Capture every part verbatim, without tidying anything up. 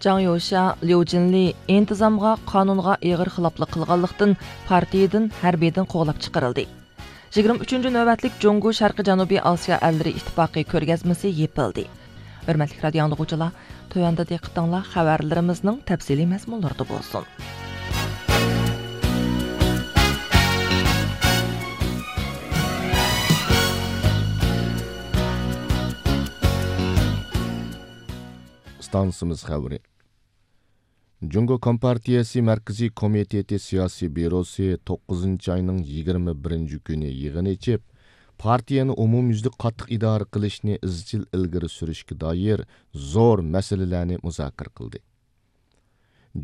جاڭ يوشيا، ليۇ جىنلى ئىنتىزامغا، قانۇنغا ئېغىر خىلاپلىق قىلغانلىقتىن، پارتىيىدىن ھەربىيدىن قوغلاپ چىقىرىلدى. يىگىرمە ئۈچىنچى نۆۋەتلىك جۇڭگو شەرقىي جەنۇبىي ئاسىيا ئەللىرى ئىتتىپاقى كۆرگەزمىسى يېپىلدى. ھۆرمەتلىك رادىيو ئاڭلىغۇچىلار، تۆۋەندە دىققىتىڭلار خەۋەرلىرىمىزنىڭ تەپسىلىي مەزمۇنلىرىدا بولسۇن. ئىستانسىمىز خەۋىرى. جۇڭگو كومپارتىيەسى مەركىزىي كومىتېتى سىياسىي بيۇروسى توققۇزىنچى ئاينىڭ يىگىرمە بىرىنچى كۈنى يىغىن ئېچىپ، پارتىيەنى ئومۇميۈزلۈك قاتتىق ئىدارە قىلىشنى ئىزچىل ئىلگىرى سۈرۈشكە دائىر زور مەسىلىلەرنى مۇزاكىرە قىلدى.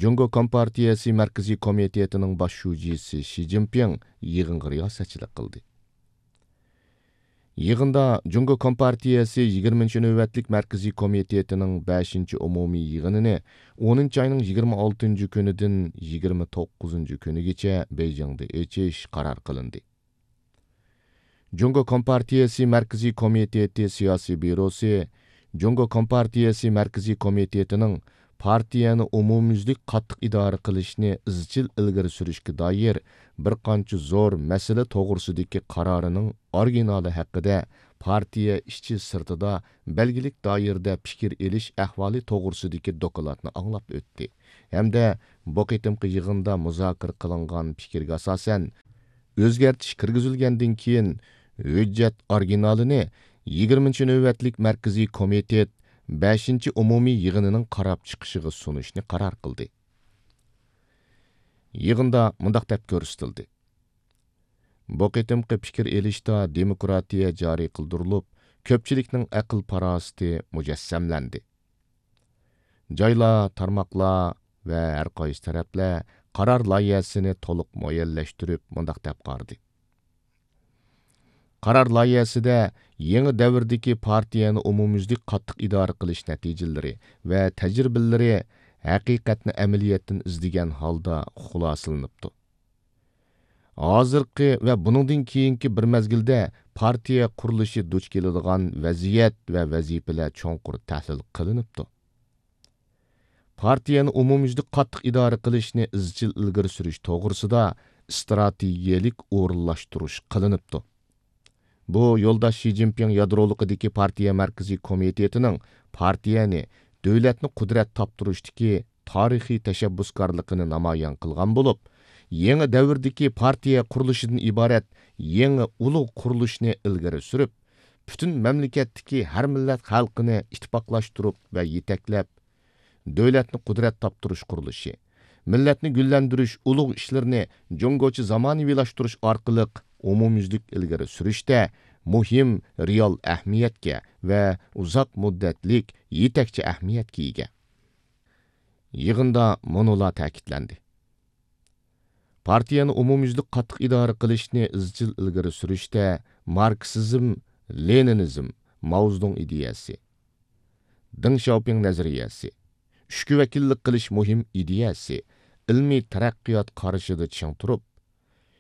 جۇڭگو كومپارتىيەسى مەركىزىي كومىتېتىنىڭ باش شۇجىسى شى جىنپىڭ يىغىنغا رىياسەتچىلىك قىلدى. يىغىندا جۇڭگو كومپارتىيەسى يىگىرمىنچى نۆۋەتلىك مەركىزىي كومىتېتىنىڭ بەشىنچى ئومۇمىي يىغىنىنى ئونىنچى ئاينىڭ يىگىرمە ئالتىنچى كۈنىدىن يىگىرمە توققۇزىنچى كۈنىگىچە بېيجىڭدا ئېچىش قارار قىلىندى. جۇڭگو كومپارتىيەسى مەركىزىي كومىتېتى سىياسىي بيۇروسى جۇڭگو كومپارتىيەسى مەركىزىي كومىتېتىنىڭ پارتىيەنى ئومۇميۈزلۈك قاتتىق ئىدارە قىلىشنى ئىزچىل ئىلگىرى سۈرۈشكە دائىر بىر قانچە زور مەسىلە توغرىسىدىكى قارارىنىڭ ئورىگىنالى ھەققىدە پارتىيە ئىچى سىرتىدا بەلگىلىك دائىرىدە پىكىر ئېلىش ئەھۋالى توغرىسىدىكى دوكلاتنى ئاڭلاپ ئۆتتى ھەمدە بۇ قېتىمقى يىغىندا مۇزاكىرە قىلىنغان پىكىرگە ئاساسەن، ئۆزگەرتىش كىرگۈزۈلگەندىن كېيىن، ھۆججەت ئورىگىنالىنى يىگىرمىنچى نۆۋەتلىك مەركىزىي كومىتېت بەشىنچى ئومۇمىي يىغىنىنىڭ قاراپ چىقىشىغا سۇنۇشنى قارار قىلدى. يىغىندا مۇنداق دەپ كۆرسىتىلدى: بۇ قېتىمقى پىكىر ئېلىشتا دېموكراتىيە جارى قىلدۇرۇلۇپ، كۆپچىلىكنىڭ ئەقىل-پاراسىتى مۇجەسسەملەندى. جايلار، تارماقلار ۋە ھەر قايسى تەرەپلەر قارار لايىھەسىنى تولۇق مۇئەييەنلەشتۈرۈپ مۇنداق دەپ قارىدى: قارار لايىھەسىدە يېڭى دەۋردىكى پارتىيەنى ئومۇميۈزلۈك قاتتىق ئىدارە قىلىش نەتىجىلىرى ۋە تەجرىبىلىرى ھەقىقەتنى ئەمەلىيەتتىن ئىزدىگەن ھالدا خۇلاسىلىنىپتۇ. ھازىرقى ۋە بۇنىڭدىن كېيىنكى بىر مەزگىلدە پارتىيە قۇرۇلۇشى دۇچ كېلىدىغان ۋەزىيەت ۋە ۋەزىپىلەر چوڭقۇر تەھلىل قىلىنىپتۇ. پارتىيەنى ئومۇميۈزلۈك قاتتىق ئىدارە قىلىشنى ئىزچىل ئىلگىرى سۈرۈش توغرىسىدا ئىستراتېگىيەلىك ئورۇنلاشتۇرۇش قىلىنىپتۇ. بۇ يولداش شى جىنپىڭ يادرولۇقىدىكى پارتىيە مەركىزىي كومىتېتىنىڭ پارتىيەنى، دۆلەتنى قۇدرەت تاپتۇرۇشتىكى تارىخىي تەشەببۇسكارلىقىنى نامايان قىلغان بولۇپ، يېڭى دەۋردىكى پارتىيە قۇرۇلۇشىدىن ئىبارەت يېڭى ئۇلۇغ قۇرۇلۇشنى ئىلگىرى سۈرۈپ، پۈتۈن مەملىكەتتىكى ھەر مىللەت خەلقىنى ئىتتىپاقلاشتۇرۇپ ۋە يېتەكلەپ، دۆلەتنى قۇدرەت تاپتۇرۇش قۇرۇلۇشى، مىللەتنى گۈللەندۈرۈش ئۇلۇغ ئىشلىرىنى جۇڭگوچە زامانىۋىلاشتۇرۇش ئارقىلىق ئومۇميۈزلۈك ئىلگىرى سۈرۈشتە مۇھىم رېئال ئەھمىيەتكە ۋە ئۇزاق مۇددەتلىك يېتەكچى ئەھمىيەتكە ئىگە. يىغىندا مۇنۇلار تەكىتلەندى. پارتىيەنى ئومۇميۈزلۈك قاتتىق ئىدارە قىلىشنى ئىزچىل ئىلگىرى سۈرۈشتە ماركسىزم، لېنىنىزم، ماۋزېدۇڭ ئىدىيەسى، دېڭ شياۋپىڭ نەزەرىيەسى، ئۈچكە ۋەكىللىك قىلىش مۇھىم ئىدىيەسى، ئىلمىي تەرەققىيات قارىشىدا چىڭ تۇرۇپ،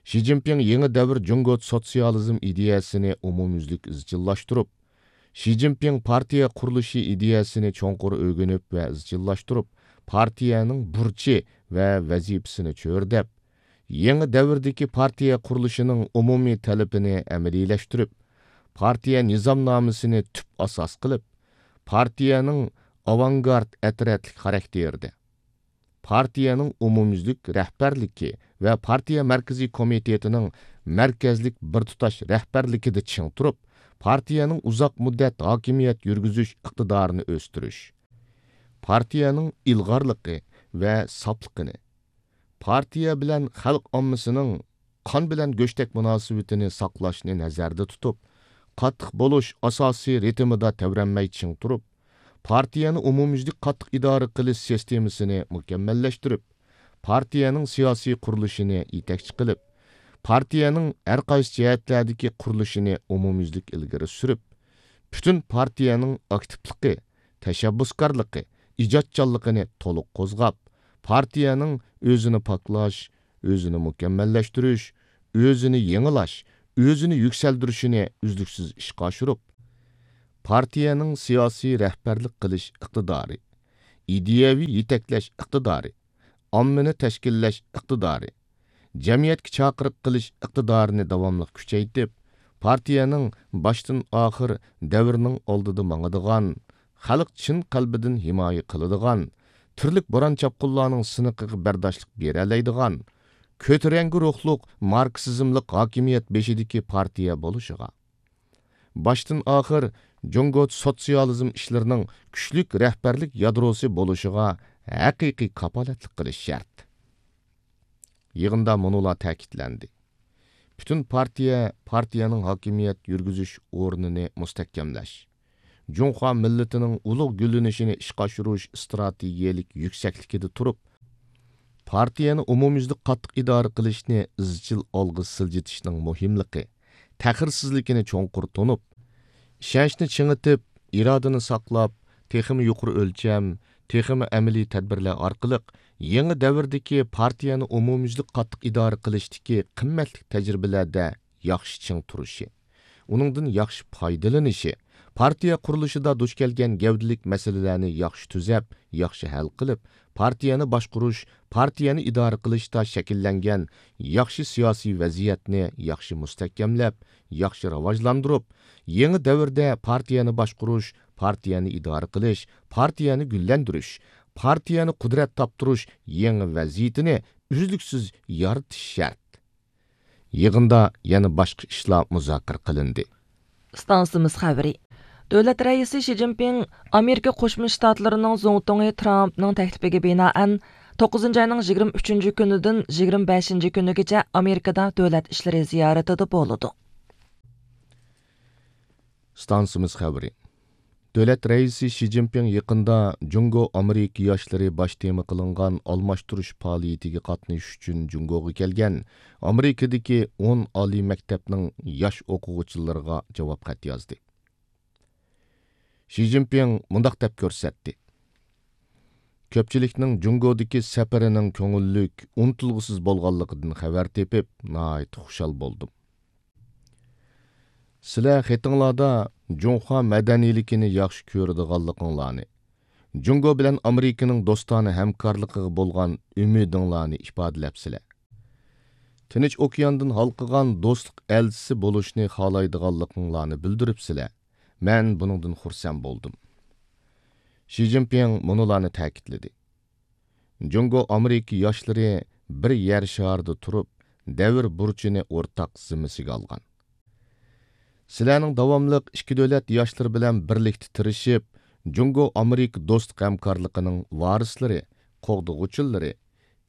شى جىنپىڭ يېڭى دەۋر جۇڭگو سوتسىيالىزم ئىدىيەسىنى ئومۇميۈزلۈك ئىزچىللاشتۇرۇپ، شى جىنپىڭ پارتىيە قۇرۇلۇشى ئىدىيەسىنى چوڭقۇر ئۆگىنىپ ۋە ئىزچىللاشتۇرۇپ، پارتىيەنىڭ بۇرچى ۋە ۋەزىپىسىنى چۆرىدەپ، يېڭى دەۋردىكى پارتىيە قۇرۇلۇشىنىڭ ئومۇمىي تەلىپىنى ئەمەلىيلەشتۈرۈپ، پارتىيە نىزامنامىسىنى تۈپ ئاساس قىلىپ، پارتىيەنىڭ ئاۋانگارت ئەترەتلىك خاراكتېرىدە، پارتىيەنىڭ ئومۇميۈزلۈك رەھبەرلىكى ۋە پارتىيە مەركىزىي كومىتېتىنىڭ مەركەزلىك بىر تۇتاش رەھبەرلىكىدە چىڭ تۇرۇپ، پارتىيەنىڭ ئۇزاق مۇددەت ھاكىمىيەت يۈرگۈزۈش ئىقتىدارىنى ئۆستۈرۈش، پارتىيەنىڭ ئىلغارلىقى ۋە ساپلىقىنى، پارتىيە بىلەن خەلق ئاممىسىنىڭ قان بىلەن گۆشتەك مۇناسىۋىتىنى ساقلاشنى نەزەردە تۇتۇپ، قاتتىق بولۇش ئاساسىي رىتىمىدا تەۋرەنمەي چىڭ تۇرۇپ، پارتىيەنى ئومۇميۈزلۈك قاتتىق ئىدارە قىلىش سىستېمىسىنى مۇكەممەللەشتۈرۈپ، پارتىيەنىڭ سىياسىي قۇرۇلۇشىنى يېتەكچى قىلىپ، پارتىيەنىڭ ھەر قايسى جەھەتلەردىكى قۇرۇلۇشىنى ئومۇميۈزلۈك ئىلگىرى سۈرۈپ، پۈتۈن پارتىيەنىڭ ئاكتىپلىقى، تەشەببۇسكارلىقى، ئىجادچانلىقىنى تولۇق قوزغاپ، پارتىيەنىڭ ئۆزىنى پاكلاش، ئۆزىنى مۇكەممەللەشتۈرۈش، ئۆزىنى يېڭىلاش، ئۆزىنى يۈكسەلدۈرۈشىنى ئۈزلۈكسىز ئىشقا ئاشۇرۇپ، پارتىيەنىڭ سىياسىي رەھبەرلىك قىلىش ئىقتىدارى، ئىدىيەۋى يېتەكلەش ئىقتىدارى، ئاممىنى تەشكىللەش ئىقتىدارى، جەمئىيەتكە چاقىرىق قىلىش ئىقتىدارىنى داۋاملىق كۈچەيتىپ، پارتىيەنىڭ باشتىن ئاخىر دەۋرنىڭ ئالدىدا ماڭىدىغان، خەلق چىن قەلبىدىن ھىمايە قىلىدىغان، تۈرلۈك بوران-چاپقۇنلارنىڭ سىنىقىغا بەرداشلىق بېرەلەيدىغان، كۆتۈرەڭگۈ روھلۇق ماركسىزملىق ھاكىمىيەت بېشىدىكى پارتىيە بولۇشىغا، باشتىن ئاخىر جۇڭگو سوتسىيالىزم ئىشلىرىنىڭ كۈچلۈك رەھبەرلىك يادروسى بولۇشىغا ھەقىقىي كاپالەتلىك قىلىش شەرت. يىغىندا مۇنۇلار تەكىتلەندى: پۈتۈن پارتىيە پارتىيەنىڭ ھاكىمىيەت يۈرگۈزۈش ئورنىنى مۇستەھكەملەش، جۇڭخۇا مىللىتىنىڭ ئۇلۇغ گۈللىنىشىنى ئىشقا ئاشۇرۇش ئىستراتېگىيەلىك يۈكسەكلىكىدە تۇرۇپ، پارتىيەنى ئومۇميۈزلۈك قاتتىق ئىدارە قىلىشنى ئىزچىل ئالغا سىلجىتىشنىڭ مۇھىملىقى، تەخىرسىزلىكىنى چوڭقۇر تونۇپ، ئىشەنچنى چىڭىتىپ، ئىرادىنى ساقلاپ، تېخىمۇ يۇقىرى ئۆلچەم، تېخىمۇ ئەمەلىي تەدبىرلەر ئارقىلىق يېڭى دەۋردىكى پارتىيەنى ئومۇميۈزلۈك قاتتىق ئىدارە قىلىشتىكى قىممەتلىك تەجرىبىلەردە ياخشى چىڭ تۇرۇشى، ئۇنىڭدىن ياخشى پايدىلىنىشى، پارتىيە قۇرۇلۇشىدا دۇچ كەلگەن گەۋدىلىك مەسىلىلەرنى ياخشى تۈزەپ، ياخشى ھەل قىلىپ، پارتىيەنى باشقۇرۇش، پارتىيەنى ئىدارە قىلىشتا شەكىللەنگەن ياخشى سىياسىي ۋەزىيەتنى ياخشى مۇستەھكەملەپ، ياخشى راۋاجلاندۇرۇپ، يېڭى دەۋردە پارتىيەنى باشقۇرۇش، پارتىيەنى ئىدارە قىلىش، پارتىيەنى گۈللەندۈرۈش، پارتىيەنى قۇدرەت تاپتۇرۇش يېڭى ۋەزىيىتىنى ئۈزلۈكسىز يارىتىش شەرت. يىغىندا يەنە باشقا ئىشلار مۇزاكىرە قىلىندى. ئىستانسىمىز خەۋىرى. دۆلەت رەئىسى شى جىنپىڭ ئامېرىكا قوشما شتاتلىرىنىڭ زۇڭتۇڭى ترامپنىڭ تەكلىپىگە بىنائەن، توققۇزىنچى ئاينىڭ يىگىرمە ئۈچىنچى كۈنىدىن يىگىرمە بەشىنچى كۈنىگىچە ئامېرىكىدا دۆلەت ئىشلىرى زىيارىتىدە بولىدۇ. ئىستانسىمىز خەۋىرى. دۆلەت رەئىسى شى جىنپىڭ يېقىندا جۇڭگو ئامېرىكا ياشلىرى باش تېما قىلىنغان ئالماشتۇرۇش پائالىيىتىگە قاتنىشىش ئۈچۈن جۇڭگوغا كەلگەن ئامېرىكىدىكى ئون ئالىي مەكتەپنىڭ ياش ئوقۇغۇچىلىرىغا جاۋاب خەت يازدى. شى جىنپىڭ مۇنداق دەپ كۆرسەتتى: كۆپچىلىكنىڭ جۇڭگودىكى سەپىرىنىڭ كۆڭۈللۈك، ئۇنتۇلغۇسىز بولغانلىقىدىن خەۋەر تېپىپ، ناھايىتى خۇشال بولدۇم. سىلەر خېتىڭلاردا جۇڭخۇا مەدەنىيلىكىنى ياخشى كۆرىدىغانلىقىڭلارنى، جۇڭگو بىلەن ئامېرىكىنىڭ دوستانە ھەمكارلىقىغا بولغان ئۈمىدىڭلارنى ئىپادىلەپسىلەر. تىنچ ئوكياندىن ھالقىغان دوستلۇق ئەلچىسى بولۇشنى خالايدىغانلىقىڭلارنى بىلدۈرۈپسىلەر. مەن بۇنىڭدىن خۇرسەن بولدۇم. شى جىنپىڭ مۇنۇلارنى تەكىتلىدى: جۇڭگو ئامېرىكا ياشلىرى بىر يەر شارىدا تۇرۇپ، دەۋر بۇرچىنى ئورتاق زىممىسىگە ئالغان. سىلەرنىڭ داۋاملىق ئىككى دۆلەت ياشلىرى بىلەن بىرلىكتە تىرىشىپ، جۇڭگو ئامېرىكا دوستلۇق ھەمكارلىقىنىڭ ۋارىسلىرى، قوغدىغۇچىلىرى،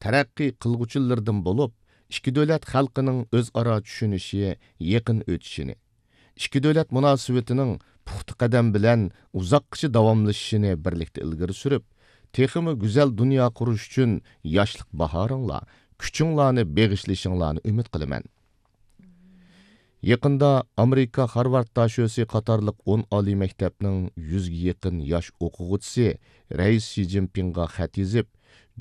تەرەققىي قىلغۇچىلىرىدىن بولۇپ، ئىككى دۆلەت خەلقىنىڭ ئۆزئارا چۈشىنىشى، يېقىن ئۆتۈشىنى، ئىككى دۆلەت مۇناسىۋىتىنىڭ پۇختا قەدەم بىلەن ئۇزاققىچە داۋاملىشىشىنى بىرلىكتە ئىلگىرى سۈرۈپ، تېخىمۇ گۈزەل دۇنيا قۇرۇش ئۈچۈن ياشلىق باھارىڭلار، كۈچۈڭلارنى بېغىشلىشىڭلارنى ئۈمىد قىلىمەن. يېقىندا ئامېرىكا خارۋارد داشۆسى قاتارلىق ئون ئالىي مەكتەپنىڭ يۈزگە يېقىن ياش ئوقۇغۇچىسى رەئىس شى جىنپىڭغا خەت يېزىپ،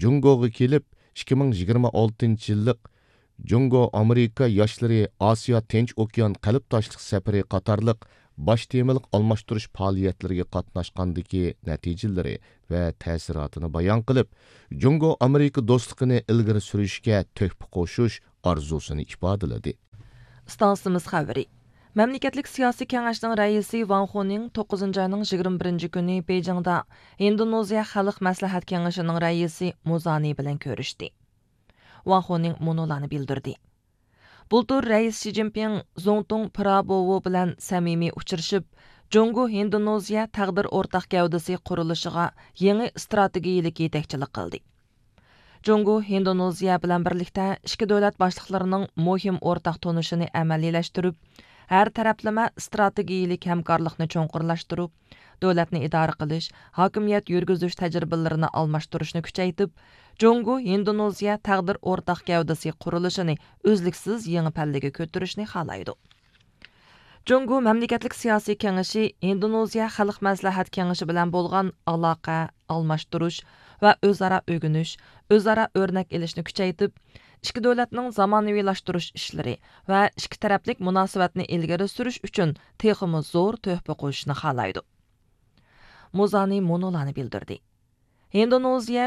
جۇڭگوغا كېلىپ، ئىككى مىڭ يىگىرمە ئالتىنچى يىللىق جۇڭگو ئامېرىكا ياشلىرى ئاسىيا تىنچ ئوكيان قەلبداشلىق سەپىرى قاتارلىق باش تېمىلىق ئالماشتۇرۇش پائالىيەتلىرىگە قاتناشقاندىكى نەتىجىلىرى ۋە تەسىراتىنى بايان قىلىپ، جۇڭگو ئامېرىكا دوستلۇقىنى ئىلگىرى سۈرۈشكە تۆھپە قوشۇش ئارزۇسىنى ئىپادىلىدى. ئىستانسىمىز خەۋىرى. مەملىكەتلىك سىياسىي كېڭەشنىڭ رەئىسى ۋاڭ خۇنىڭ توققۇزىنچى ئاينىڭ يىگىرمە بىرىنچى كۈنى بېيجىڭدا ھىندونېزىيە خەلق مەسلىھەت كېڭىشىنىڭ رەئىسى مۇزانى بىلەن كۆرۈشتى. ۋاڭ خۇنىڭ مۇنۇلارنى بىلدۈردى. بۇلتۇر رەئىس شى جىنپىڭ زۇڭتۇڭ پىرابوۋو بىلەن سەمىمىي ئۇچرىشىپ، جۇڭگو ھىندونېزىيە تەقدىر ئورتاق گەۋدىسى قۇرۇلۇشىغا يېڭى ئىستراتېگىيىلىك يېتەكچىلىك قىلدى. جۇڭگو ھىندونېزىيە بىلەن بىرلىكتە ئىككى دۆلەت باشلىقلىرىنىڭ مۇھىم ئورتاق تونۇشىنى ئەمەلىيلەشتۈرۈپ، ھەر تەرەپلىمە ئىستراتېگىيىلىك ھەمكارلىقنى چوڭقۇرلاشتۇرۇپ، دۆلەتنى ئىدارە قىلىش، ھاكىمىيەت يۈرگۈزۈش تەجرىبىلىرىنى ئالماشتۇرۇشنى كۈچەيتىپ، جۇڭگو ھىندونېزىيە تەقدىر ئورتاق گەۋدىسى قۇرۇلۇشىنى ئۈزلۈكسىز يېڭى پەللىگە كۆتۈرۈشنى خالايدۇ. جۇڭگو مەملىكەتلىك سىياسىي كېڭىشى ھىندونېزىيە خەلق مەسلىھەت كېڭىشى بىلەن بولغان ئالاقە ئالماشتۇرۇش ۋە ئۆزئارا ئۆگىنىش، ئۆزئارا ئۆرنەك ئېلىشنى كۈچەيتىپ، ئىككى دۆلەتنىڭ زامانىۋىلاشتۇرۇش ئىشلىرى ۋە ئىككى تەرەپلىك مۇناسىۋەتنى ئىلگىرى سۈرۈش ئۈچۈن تېخىمۇ زور تۆھپە قوشۇشنى خالايدۇ. مۇزانى مۇنۇلارنى بىلدۈردى. ھىندونېزىيە